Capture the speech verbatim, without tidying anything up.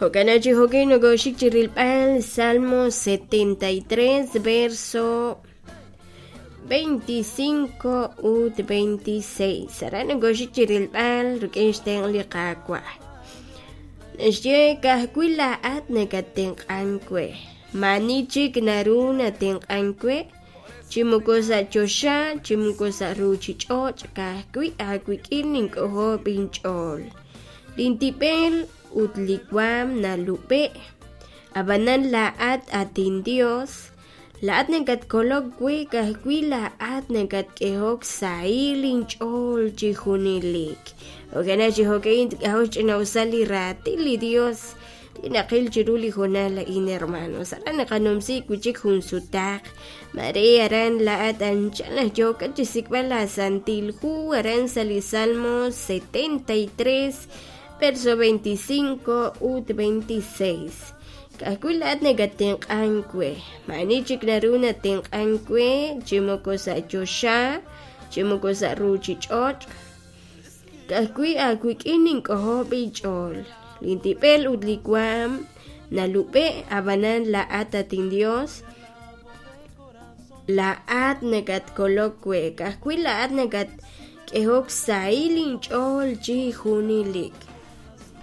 Jo'kan chi jo'kin nokoxik chi rilb'al Salmo setenta y tres verso veinticinco ut veintiséis. Aran nokoxik chi rilb'al rik'in xtenq' li Qaawa'. Naxye ka'ajwi' laa'at nakatenq'ank we. Maani chik naru natenq'ank we, chi moko sa' choxa, chi moko sa' ruuchich'och', ka'ajwi' aawik'in nink'ojob' inch'ool. Lintib'el ut li waam nalub'e', ab'anan laa'at at inDios, laa'at nakatkolok we, ka'ajwi' laa'at nakatk'ehok sahil inch'ool chi junelik. Jo'kan chi jo'ka'in k'ajo' xch'ina'usal li raatin li Dios li naqil chiru li hoonal a'in, hermanos. Aran naqanumsi wi' chik jun sutaq. Mare aran laa'at anchal naq yookat chi xsik'b'al la Santil Hu aran sa' li Salmo setenta y tres verso veinticinco ut veintiséis. Ka'ajwi' laa'at nakatenq'ank we. Maani chik naru natenq'ank we, chi moko sa' choxa, chi moko sa' ruuchich'och'. Ka'ajwi' aawik'in nink'ojob' inch'ool. Lintib'el ut li waam nalub'e', ab'anan laa'at at inDios, laa'at nakatkolok we, ka'ajwi' laa'at nakatk'ehok sahil inch'ool chi junelik.